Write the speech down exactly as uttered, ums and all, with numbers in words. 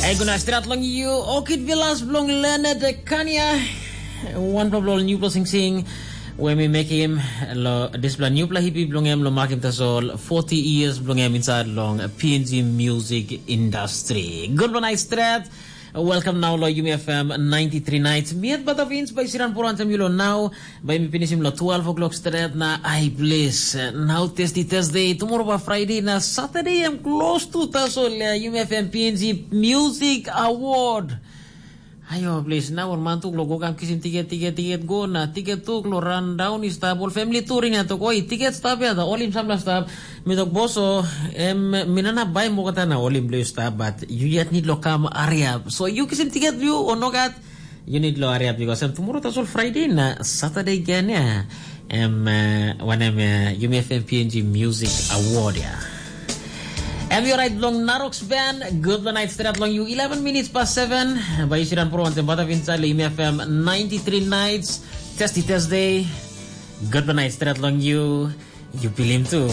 Ai guna stret long you, Orchid Villas bilong Leonard Kania. Wanpela bilong newpela singsing we mi mekim lo dispela newpela hipi bilong em lo makim tasol forty years bilong em inside long P N G music industry. Good one, I stret. Welcome now lo Yumi F M ninety-three nights. Miet bata vins by Siran Poro antem yulo now. Bai mi pinisim long twelve o'clock stret na ai plis. Nau testi Thursday, tomorrow ba Friday na Saturday em close to tasol ya. Yumi F M P N G Music Award. Ayo plis, na ol man tuk lo go kam kisim tiket, tiket, tiket go na tiket tuk lo run down i stap ol family touring ya tok oi tiket stap ya da olim samla stap. Mi tok boso, em minana bai mo kata na olim blue stap but you yet need lo kam area. So you kisim tiket you o nogat. You need lo area because em tomorrow tasol Friday na Saturday again ya. Em uh, wanem uh, Yumi F M P N G Music Award ya. Em yo right long Narox Band, good the night straight long you eleven minutes past seven. By Ishiran Pro and Bata Vinsal Yumi F M ninety-three nights, Testy Thursday. Good the night straight long you. You feel him too.